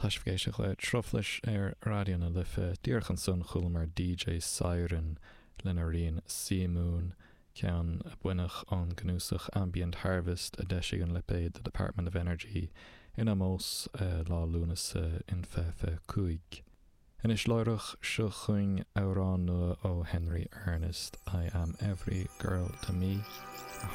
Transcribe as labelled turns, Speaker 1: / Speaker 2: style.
Speaker 1: Tá sibh ag éisteacht le Truflais ar Raidió na Life. Díreach ansan chualamar DJ Siren lena rian Sea Moon, ceann a baineadh ón gcnuasach Ambient Harvest a d'eisigh an lipéad The Department of Energy in ómós lá Lúnasa in 2025. Anois láithreach, seo chugainn amhrán nua ó Henry Ernest, I Am Every Girl to Me, a thug.